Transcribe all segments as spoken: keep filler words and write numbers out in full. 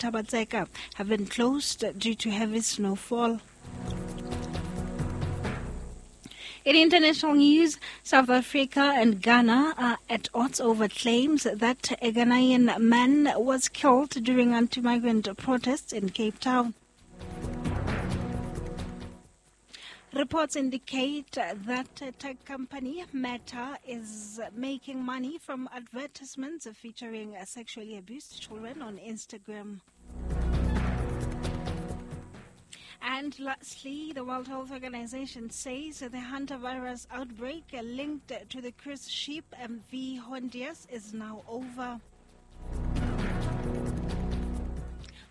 Thaba-Tseka have been closed due to heavy snowfall. In international news, South Africa and Ghana are at odds over claims that a Ghanaian man was killed during anti-migrant protests in Cape Town. Reports indicate that tech company Meta is making money from advertisements featuring sexually abused children on Instagram. And lastly, the World Health Organization says the hantavirus outbreak linked to the cruise ship M V Hondius is now over.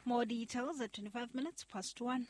More details at twenty-five minutes past one.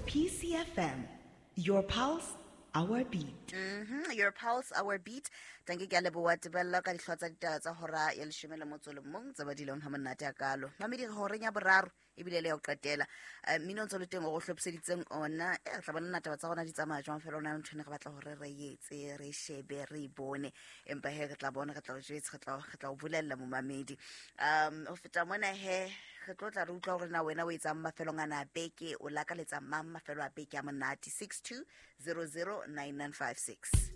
P C F M, your pulse, our beat. Mm-hmm. Your pulse, our beat. Tanki ke a leboha Tebello ka dihlooho tsa ditaba tsa hora ya leshome le motso le mong tse badileng ha monate hakalo. Mamedi re horeng ya boraro ebile le ya ho qetela. Eh, mmino o ntse o le teng o re hlophiseditseng ona. Eh, re tla bona na taba tsa rona di tsamaya jwang fela ona ntho ene re batla hore re etse, re shebe, re e bone. Empa he re tla bona, re tla o jwetsa, re tla, re tla o bolella momamedi. Um, ho feta mona he re tlo tla re utlwa hore na wena o etsang mafelong ana a beke, o lakaletsa mang mafelo a beke a monate. six two zero zero nine nine five six.